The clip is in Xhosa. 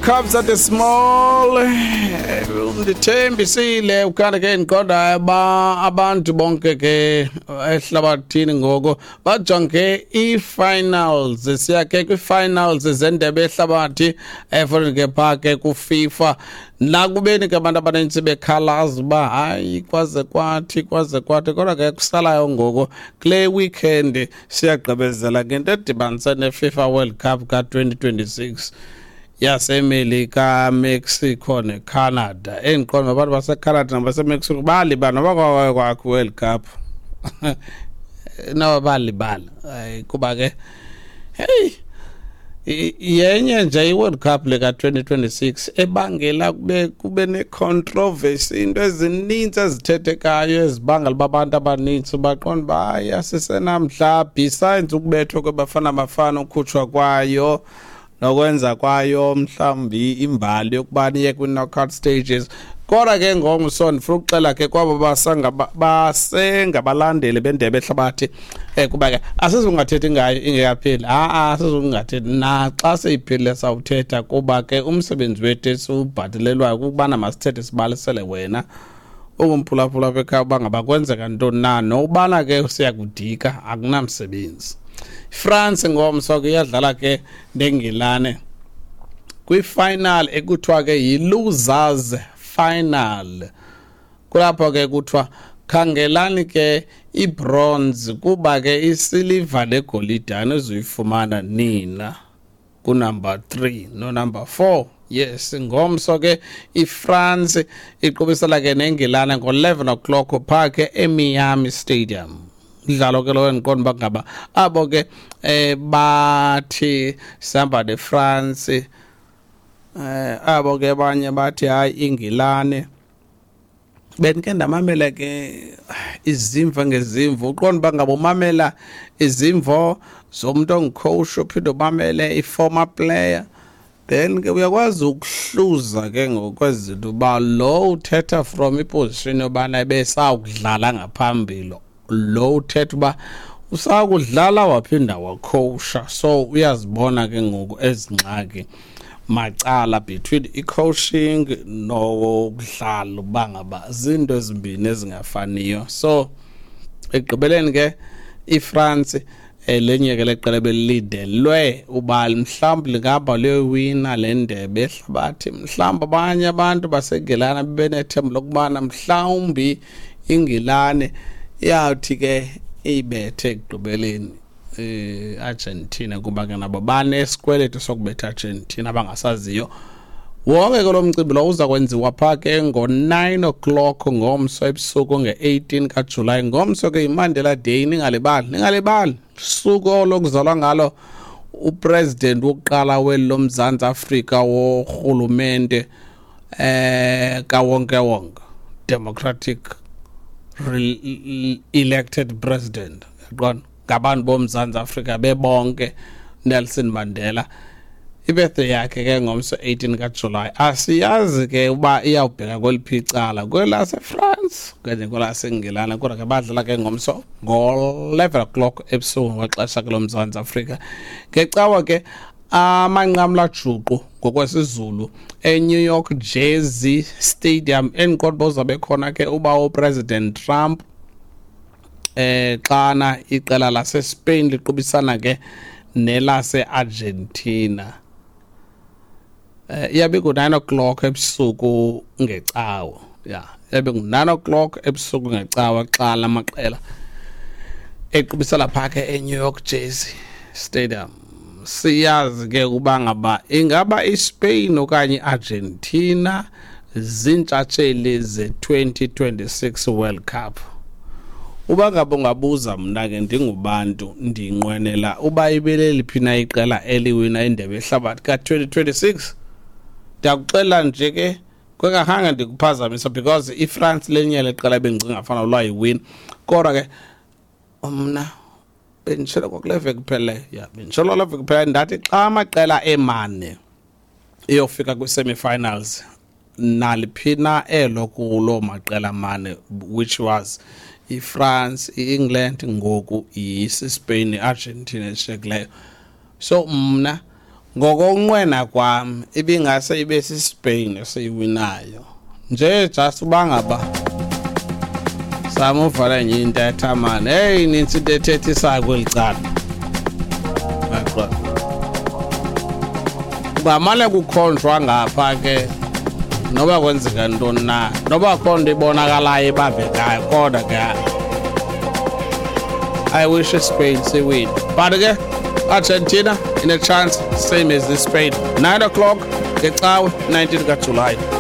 Kabza De Small. Ndithembisile ukanti ke ndiqonda ba abantu bonke ke ehlabathini ngoku bajonge ii-finals. Siya ke kwii-finals zendebe yehlabathi eforeign ke phaa ke kuFIFA. Nakubeni ke abantu abanintsi bekhalaza uba hayi, kwaze kwathi, kwaze kwathi, kodwa ke kusalayo ngoku kule weekend siyagqibezela ngento edibanise neFIFA World Cup ka-2026 yaseMelika, Mexico neCanada. Endiqonda abantu baseCanada nabaseMexico balibala noba kwakwaye kwakho World Cup, noba balibala kuba ke heyi, yenye nje i-World Cup le ka-2026 ebangela kube ne-controversy, into ezininzi ezithethekayo ezibangela uba abantu abanintsi baqonda uba hayi, asisenamhla. Besides ukubethwa kweBafana Bafana, ukhutshwa kwayo nokwenza kwayo mhlawumbi imbali yokuba niye kwi-knockout stages, kodwa ke ngomso ndifuna ukuxela ke kwabo basengabalandeli bendebe ehlabathi, kuba ke asizungathethi ngayo ingekapheli. Ha-a, asizungathethi naxa seyiphelile, sawuthetha, kuba ke umsebenzi wethu esiwubhatalelwayo kukubana masithethe, sibalisele wena ungumphulaphula apha ekhaya uba ngaba kwenzeka ntoni na, nobana ke siyakudika akunamsebenzi. France ngomso ke iyadlala ke neNgilane kwi-final ekuthiwa ke yi-losers final. Kulapho ke kuthiwa khangelani ke ibronze, kuba ke isiliva negolide anizuyifumana nina kunumber 3 no-number 4. Yes, ngomso ke iFrance iqubisela ke neNgilane ngo-11 o'clock phaa ke eMiami Stadium. Umdlalo ke lowo endiqonda uba ngaba abo ke bathi sihamba neFrance, abo ke abanye bathi hayi, iNgilane. Bendike ndamamela ke izimvo ngezimvo, uqonda uba ngaba umamela izimvo zomntu ongucoach, uphinde umamele i-former player, then ke uyakwazi ukuhluza ke ngokwezinto uba lo uthetha from iposition yobana ebesawukudlala ngaphambili, lo uthetha uba usakudlala waphinda wacoacha. So uyazibona ke ngoku ezi ngxaki macala between i-coaching nokudlala, uba ngaba zinto ezimbini ezingafaniyo. So ekugqibeleni ke iFrance, lenye ke leqela belilindelwe uba mhlawumbi lingahamba liyowina le ndebe ehlabathi. Mhlawumbi abanye abantu baseNgilane bebenethemba lokubana mhlawumbi iNgilane iyawuthi ke iyibethe ekugqibeleni Argentina, kuba ke nabo banesikweletu sokubetha Argentina abangasaziyo. Wonke ke lo mcimbi lo uza kwenziwa phaa ke ngo-9 o'clock ngomso ebusuku nge-18 kaJulayi. Ngomso ke yiMandela Day, ningalibali, ningalibali suku lokuzalwa ngalo upresident wokuqala weli loMzantsi Afrika worhulumente kawonke wonke, democratic elected president, yaqona, ngabantu boMzantsi Afrika bebonke, Nelson Mandela. Ibirthday yakhe ke ngomso 18 kaJulayi. Asiyazi ke uba iyawubheka kweliphi icala, kwelaseFrance okanye kwelaseNgilane, kodwa ke badlala ke ngomso ngo-11 o'clock ebusuku ngexesha ke loMzantsi Afrika. Ngecawa ke amanqamla juqu ngokwesiZulu eNew York Jersey Stadium, endiqonda uba uzabe khona ke uba uPresident Trump, xana iqela laseSpain liqubisana ke nelase-Argentina. Iyabe ku-9 o'clock ebusuku ngecawa. Ya, iyabe ngu-9 o'clock ebusuku ngecawa xa la maqela equbisela phaa ke eNew York Jersey Stadium. Siyazi ke uba ngaba ingaba iSpain okanye iArgentina ziintshatsheli ze-2026 World Cup. Uba ngaba ungabuza mna ke ndingubantu, ndinqwenela uba ibeleliphi na iqela eliwina indebe yehlabathi ka-2026, ndiyakuxelela nje ke kwekakhange ndikuphazamisa, because iFrance lenye leqela bendicinga fana lwayiwina. Kodwa ke mna benditshilo kwakule veki kupheleyo, ya, benditshilo kule veki kupheleyo, ndathi xa amaqela emane iyofika kwi-semi-finals, naliphi na elo kuloo maqela mane, which was iFrance, i-England, ngoku isiSpain, i-Argentina eshiyekileyo. So mna Ngokonqwena kwam ibingase ibe siSpain esiyiwinayo nje, just uba ngaba samuvala enye intetha mani. Heyi, nintsi into ethethisayo kweli cala. Ungamane kukhonjwa ngapha ke noba kwenzeka ntoni na, noba kho nto ibonakalayo ibambekayo, kodwa ke I wish Spain siwin. But ke Argentina in a chance, same as the Spain. 9 o'clock ngecawe 19 kaJulayi.